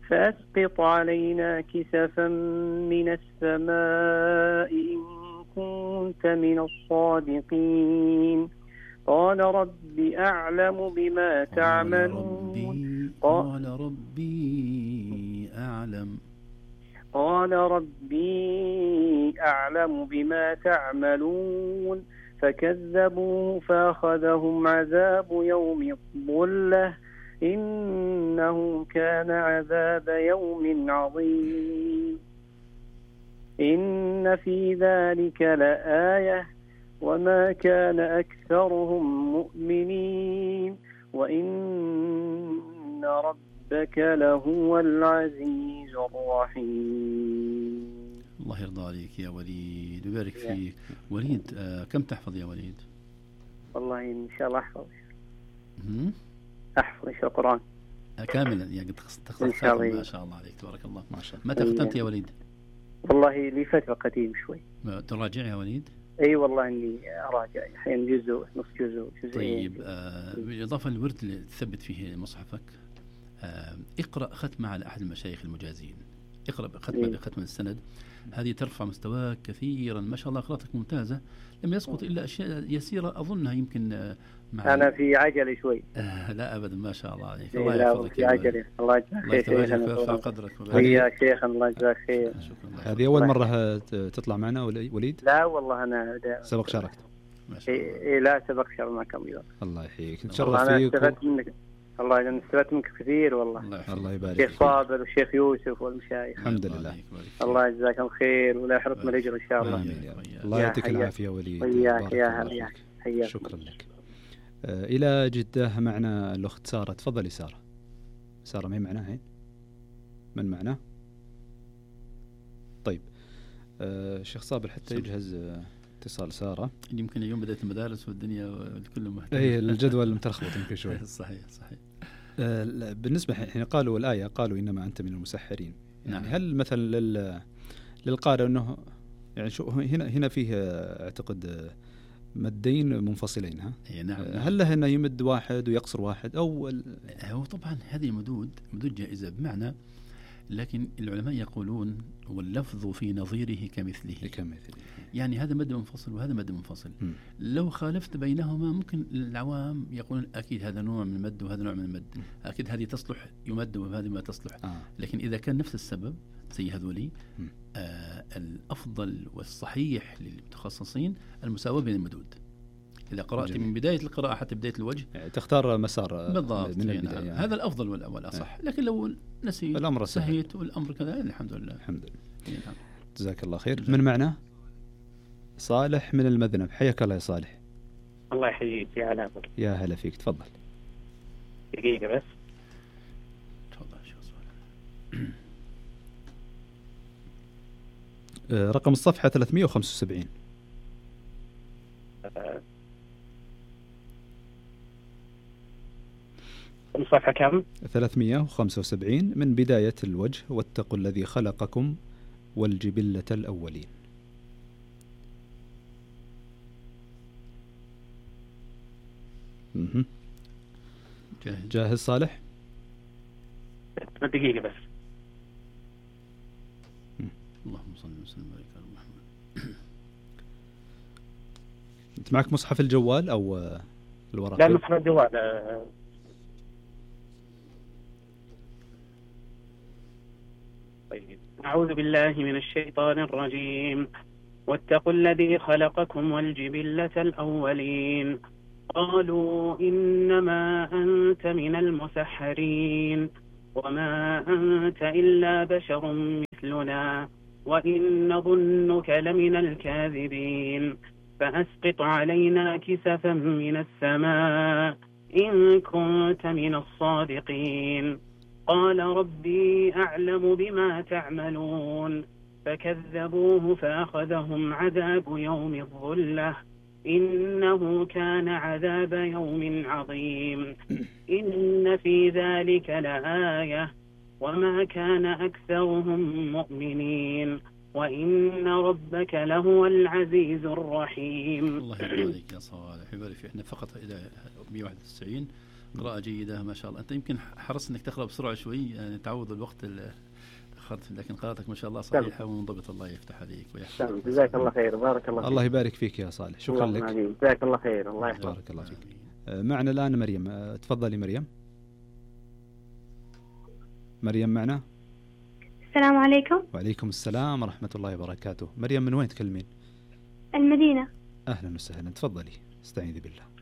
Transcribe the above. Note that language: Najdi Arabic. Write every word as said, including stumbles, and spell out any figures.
فأسقط علينا كسفا من السماء إن كنت من الصادقين قال ربي أعلم بما تعملون قال ربي أعلم قال ربي أعلم بما تعملون فكذبوه فأخذهم عذاب يوم الظلة إنه كان عذاب يوم عظيم إن في ذلك لآية وما كان أكثرهم مؤمنين وإن ربك لهو العزيز الرحيم. الله يرضى عليك يا وليد ويبارك فيك. وليد آه كم تحفظ يا وليد؟ والله إن شاء الله أحفظ م- أحفظ إن شاء القرآن آه كاملا يعني تخصص إن شاء الله. ما شاء الله عليك تبارك الله ما شاء الله. متى ختمت يا وليد؟ والله لي فترة قديم شوي. تراجع يا وليد؟ أي والله إني أراجع أحيانا جزء نص جزء جزء. طيب آه بالإضافة للورد اللي تثبت فيه مصحفك آه اقرأ ختمة على أحد المشايخ المجازين. اقرأ ختمة إيه؟ بختمة السند هذه ترفع مستواك كثيرا ما شاء الله. قراءتك ممتازة لم يسقط إلا أشياء يسيرة أظنها يمكن آه مع أنا في عجلة شوي. آه لا أبدا ما شاء الله عليك. إيه الله لا يحفظك في يا عجلة. الله يجزاك خير الله شيخنا. يرفع قدرك ويا شيخنا الله يجزاك خير. هذه أول مرة تطلع معنا وليد؟ لا والله أنا سبق شاركت؟ إيه لا سبق شارك معكم. الله يحييك نتشرف فيك. استفدت منك الله أنا استفدت منك كثير والله. الله يبارك فيك. شيخ صابر والشيخ يوسف والمشايخ. الحمد لله. الله يجزاكم خير ولا يحرمكم الأجر إن شاء الله. الله يعطيك العافية وليد. وياك يا هلا حياك. شكرا لك. آه إلى جدة معنا الأخت سارة. تفضلي سارة. سارة ما معنا هين؟ من معنا؟ طيب آه شيخ صابر حتى يجهز آه اتصال سارة. يمكن اليوم بدأت المدارس والدنيا والكل مهتم. اي الجدول متلخبط يمكن شوي. صحيح صحيح. آه بالنسبة حين قالوا الآية قالوا إنما أنت من المسحرين. يعني نعم. هل مثلا لل للقارئ أنه يعني شو هنا هنا فيه أعتقد مدين منفصلين ها؟ نعم. هل له أنه يمد واحد ويقصر واحد أو هو طبعا هذه مدود مدود جائزة بمعنى لكن العلماء يقولون واللفظ في نظيره كمثله كمثله يعني هذا مد منفصل وهذا مد منفصل. م. لو خالفت بينهما ممكن العوام يقولون أكيد هذا نوع من المد وهذا نوع من المد م. أكيد هذه تصلح يمد وهذه ما تصلح. آه. لكن إذا كان نفس السبب زي هذولي آه الأفضل والصحيح للمتخصصين المساواة بين المدود. إذا قرأت جميل. من بداية القراءة حتى بداية الوجه يعني تختار مسار بالضبط من البداية. يعني. هذا الأفضل والأصح. لكن لو نسيت الأمر سهيت والأمر كذا الحمد لله. الحمد لله. نعم. جزاك الله خير. من معنا صالح من المذنب. حياك الله يا صالح. الله يحييك يا هلا. يا هلا فيك. تفضل. دقيقة بس. تفضل شو صالح. رقم الصفحة ثلاثمائة وخمسة وسبعين. الصفحة كم؟ ثلاثمائة وخمسة وسبعين من بداية الوجه واتقوا الذي خلقكم والجبلة الأولين. مه. جاهز. جاهز صالح؟ دقيقة بس. اللهم صل وسلم على محمد. أنت معك مصحف الجوال أو الورقة؟ لا مصحف الجوال. طيب. أعوذ بالله من الشيطان الرجيم. واتقوا الذي خلقكم والجبلة الأولين قالوا إنما أنت من المسحرين وما أنت إلا بشر مثلنا وإن نظنك لمن الكاذبين فأسقط علينا كسفا من السماء إن كنت من الصادقين قال ربي أعلم بما تعملون فكذبوه فأخذهم عذاب يوم الظلة إنه كان عذاب يوم عظيم إن في ذلك لآية وما كان أكثرهم مؤمنين وإن ربك لهو العزيز الرحيم. الله يبارك يا صالح يبارك فيه. احنا فقط إلى مئة وواحد وتسعين قراءة جيدة ما شاء الله. أنت يمكن حرصت أنك تقرأ بسرعة شوي يعني تعوض الوقت اللي أخرت، لكن قراءتك ما شاء الله صحيحة ومنضبطة. الله يفتح عليك ويحفظك. جزاك الله خير. بارك الله فيك. الله يبارك فيك يا صالح. شكرا لك. جزاك الله خير. الله يحفظك. بارك الله فيك. معنا الآن مريم. تفضلي مريم. مريم معنا. السلام عليكم. وعليكم السلام ورحمة الله وبركاته. مريم من وين تكلمين؟ المدينة. أهلا وسهلا. تفضلي استعيذي بالله.